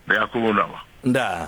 Ndi afho vho nda vha. Ndaa.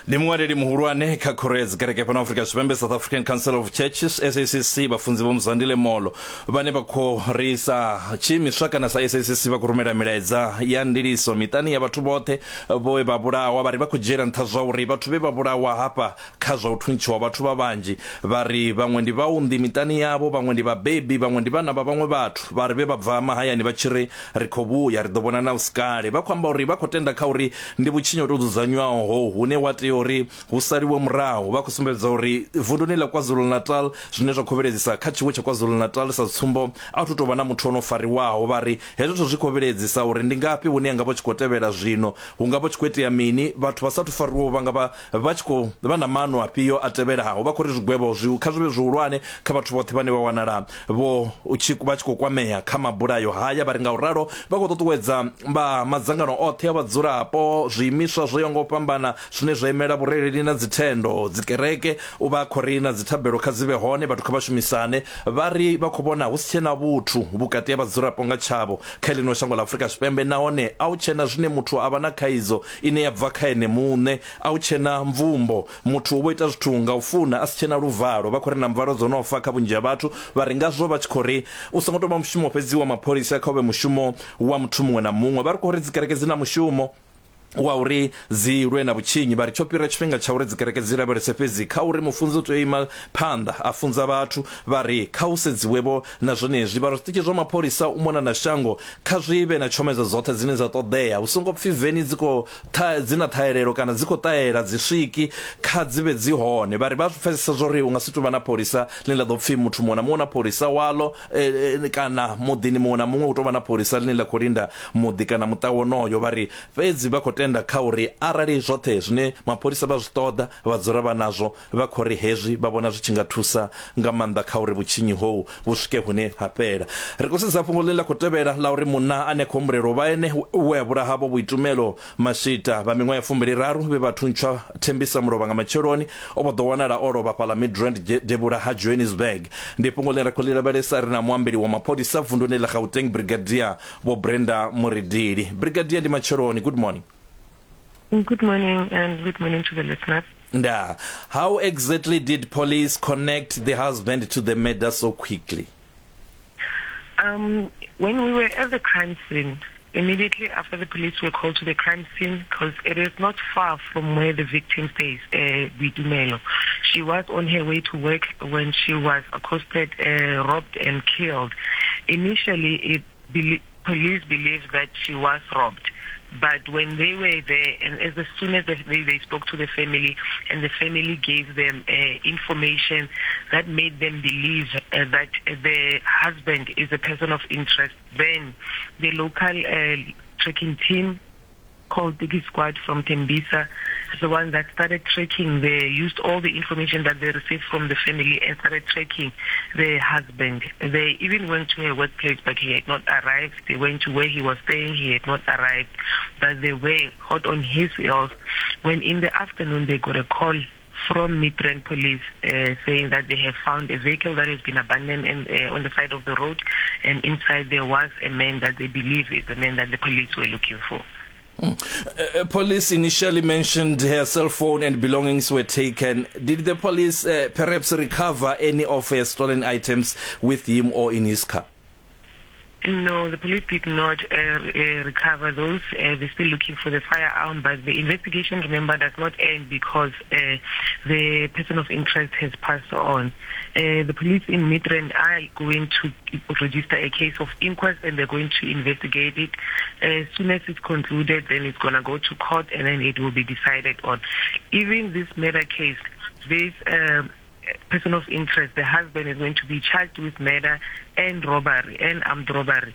Ndi muṅwaleli muhulwane kha khoro ya dzikereke fhano Afrika Tshipembe, South African Council of Churches, SACC, vhafunzi Vho Mzwandile Molo, vhane vha khou ri sa tshiimiswa kana sa SACC vha khou rumela milaedza ya ndiliso miṱani ya vhathu vhoṱhe vhe vha vhulawa. Vha ri vha khou dzhiela nṱha zwa uri vhathu vhe vha vhulawa hafha kha zwa u thuntshiwa vhathu vha vhanzhi, vha ri vhaṅwe ndi vhaunḓi miṱani yavho, vhaṅwe ndi vhabebi, vhaṅwe ndi vhana vha vhaṅwe vhathu. Vha ri vhe vha bva mahayani vha tshi ri Ri khou vhuya, ri ḓo vhonana hu si kale. Vha khou amba uri vha khou tenda kha uri ndi vhutshinyi ho tou dzudzanywaho hohu hune wa tea uri hu saliwe murahu. Vha khou sumbedza uri vunduni ḽa KwaZulu-Natal, zwine zwa khou vhilaedzisa kha tshiwo tsha KwaZulu-Natal sa tsumbo, a hu thu tou vha na muthu o no fariwaho. Vha ri hezwo zwithu zwi khou vhilaedzisa uri ndi ngafhi hune ha nga vha hu tshi khou tevhela zwino, hu nga vha hu tshi khou itea mini, vhathu vha sa athu fariwaho vha nga vha vha tshi khou vha na maano afhio a tevhelaho. Vha khou ri zwigwevho zwi kha zwi vhe zwihulwane kha vhathu vhoṱhe vhane vha wanala vho vha tshi khou kwamea kha mabulayo haya. Vha ri ngauralo vha khou ṱuṱuwedza vha madzangano oṱhe a vhadzulapo, zwiimiswa zwo yaho nga u fhambana zwine zwa imela vhurereli na dzithendo, dzikereke, u vha khou ri na dzithabelo kha dzi vhe hone, vhathu kha vha shumisane. Vha ri vha khou vhona hu si tshena vhuthu vhukati ha vhadzulapo nga tshavho kha ḽino shango ḽa Afrika Tshipembe nahone a hu tshena zwine muthu a vha na khaidzo ine ya bva kha ene muṋe, a hu tshena mvumbo. Muthu u vho ita zwithu nga u funa a si tshena luvalo. Vha khou ri na mvalo dzo no fa kha vhunzhi ha vhathu. Vha ri ngazwo vha tshi khou ri u songo tou vha mushumo fhedzi wa mapholisa kha u vhe mushumo wa muthu muṅwe na muṅwe. Vha ri khou ri dzikereke dzi na mushumo wa uri dzi lwe na vhutshinyi. Vha ri tsho fhira tshifhinga tsha uri dzikereke dzi lavhelese fhedzi kha uri mufunzi u tea u ima phanḓa a funza vhathu. Vha ri kha hu sedziwe-vho na zwenezwi. Vha ri zwiṱitshi zwa mapholisa u mona na shango kha zwi vhe na tshomedzo dzoṱhe dzine dza ṱoḓea. Hu songo pfi veni dzi khou ṱha, dzi na ṱhahelelo kana dzi khou ṱahela, dzi swiki, kha dzi vhe dzi hone. Vha ri vha zwi pfesesa zwa uri hu nga si tou vha na pholisa ḽine ḽa ḓo pfi muthu muṅwe na muṅwe u na pholisa waḽo kana muḓini muṅwe na muṅwe hu tou vha na pholisa ḽine ḽa khou linda muḓi kana muṱa wonoyo. Vha ri fhedzi vha khou tenda kha uri arali zwoṱhe zwine mapholisa vha zwi ṱoḓa vha dzula vha nazwo, Vha khou ri hezwi vha vhona zwi tshi nga thusa nga maanḓa kha uri vhutshinyi hohu vhu swike hune ha fhela. Ri khou sedza fhungo ḽine ḽa khou tevhela ḽa uri munna ane a khou humbulelwa u vha ene we a vhulaha Vho Boitumelo Mashita vha miṅwaha ya 23 vhe vha thuntshwa Thembisa mulovha nga matsheloni o vho ḓo wanala o lovha fhaḽa Midrand devhula ha Johannesburg. Ndi fhungo ḽine ra khou ḽi lavhelesa ri na muambeli wa mapholisa vunduni ḽa Gauteng Brigadier Vho Brenda Muridili. Brigadier ndi matsheloni, good morning. Good morning and good morning to the listeners. Ndaa. How exactly did police connect the husband to the murder so quickly? When we were at the crime scene, immediately after the police were called to the crime scene, because it is not far from where the victim stays, Boitumelo. She was on her way to work when she was accosted, robbed and killed. Initially, it police believed that she was robbed. But when they were there, and as soon as they spoke to the family, and the family gave them information that made them believe that the husband is a person of interest, then the local tracking team called Digi Squad from Tembisa, the one that started tracking. They used all the information that they received from the family and started tracking the husband. They even went to her workplace, but he had not arrived. They went to where he was staying, he had not arrived. But they were hot on his heels. When in the afternoon they got a call from Midrand Police saying that they have found a vehicle that has been abandoned on the side of the road, and inside there was a man that they believe is the man that the police were looking for. Police initially mentioned her cell phone and belongings were taken. Did the police perhaps recover any of her stolen items with him or in his car? No, the police did not recover those. They're still looking for the firearm, but the investigation, remember, does not end because the person of interest has passed on. The police in Midrand are going to register a case of inquest and they're going to investigate it. As soon as it's concluded, then it's going to go to court and then it will be decided on. Even this murder case, this person of interest, the husband, is going to be charged with murder and robbery and armed robbery.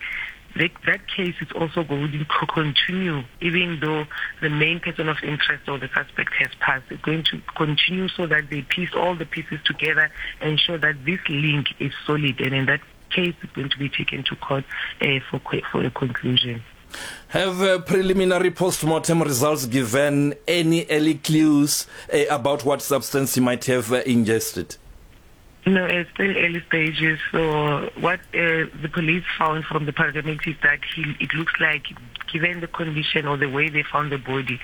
That case is also going to continue, even though the main person of interest or the suspect has passed. It's going to continue so that they piece all the pieces together and ensure that this link is solid. And in that case, it's going to be taken to court for a conclusion. Have preliminary post-mortem results given any early clues about what substance he might have ingested? No, it's still early stages. So what the police found from the paramedics is that it looks like, given the condition or the way they found the body,